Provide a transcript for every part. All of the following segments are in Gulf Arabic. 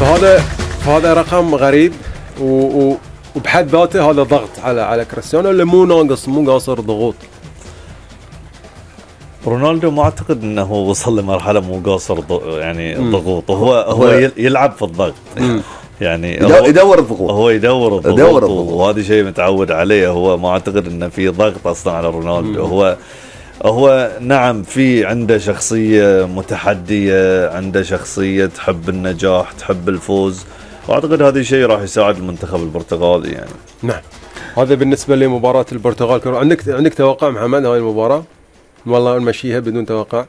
فهذا رقم غريب وبحد ذاته هذا ضغط على كريستيانو اللي مو قاصر ضغوط. رونالدو ما اعتقد انه وصل لمرحله مو قاصر يعني ضغوط. هو يلعب في الضغط يعني يدور الضغوط. هو يدور الضغوط وهذا شيء متعود عليه. هو ما اعتقد انه في ضغط اصلا على رونالدو. هو نعم في عنده شخصيه متحديه، عنده شخصيه تحب النجاح تحب الفوز، واعتقد هذا الشيء راح يساعد المنتخب البرتغالي يعني. نعم هذا بالنسبه لمباراه البرتغال. عندك توقع محمد هاي المباراه؟ والله نمشيها بدون توقع.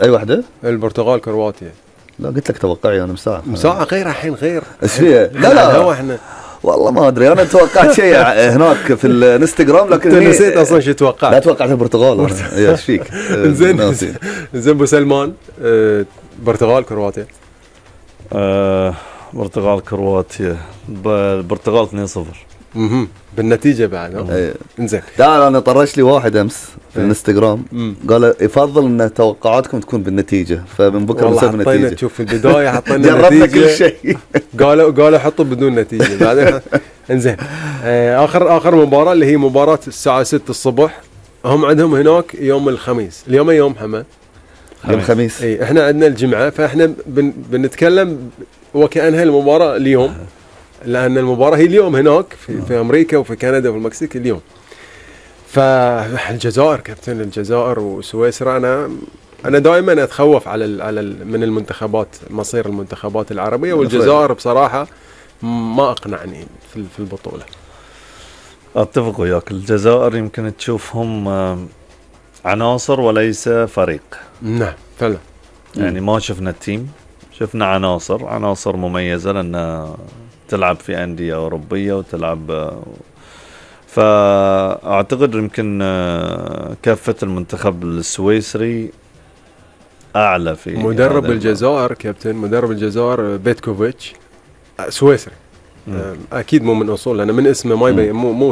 اي واحده؟ البرتغال كرواتيا. لا قلت لك توقعي انا مساعة غير الحين غير ايش فيها؟ لا هو احنا والله ما ادري. انا توقعت شيء هناك في الانستغرام لكن نسيت اصلا شو توقعت. لا توقعت البرتغال. ايش فيك؟ زين ابو سلمان. برتغال كرواتيا. برتغال كرواتيا. البرتغال 2-0. بالنتيجه بعد. انزين لا انا طرش لي واحد امس في الانستغرام قال يفضل ان توقعاتكم تكون بالنتيجه، فمن بكره نسوي بالنتيجه. تشوف في البدايه حطينا جربنا كل شيء. قالوا حطوا بدون نتيجه بعدين. انزين اخر مباراه اللي هي مباراه الساعه 6 الصبح. هم عندهم هناك يوم الخميس. اليوم يوم حمد يوم الخميس. اي احنا عندنا الجمعه، فاحنا بنتكلم وكأنها المباراه اليوم، لأن المباراة هي اليوم هناك في أمريكا وفي كندا وفي المكسيك اليوم. فالجزائر كابتن الجزائر وسويسرا أنا دائما أتخوف على من المنتخبات، مصير المنتخبات العربية، والجزائر بصراحة ما أقنعني في البطولة. أتفق وياك. الجزائر يمكن تشوفهم عناصر وليس فريق. نعم فعلا. يعني ما شفنا التيم، شفنا عناصر مميزة لأن تلعب في أندية أوروبية وتلعب. فأعتقد يمكن كافة المنتخب السويسري أعلى في مدرب الجزائر كابتن. مدرب الجزائر بيتكوفيتش سويسري. أكيد مو من أصول، لأن من اسمه ما يبين مو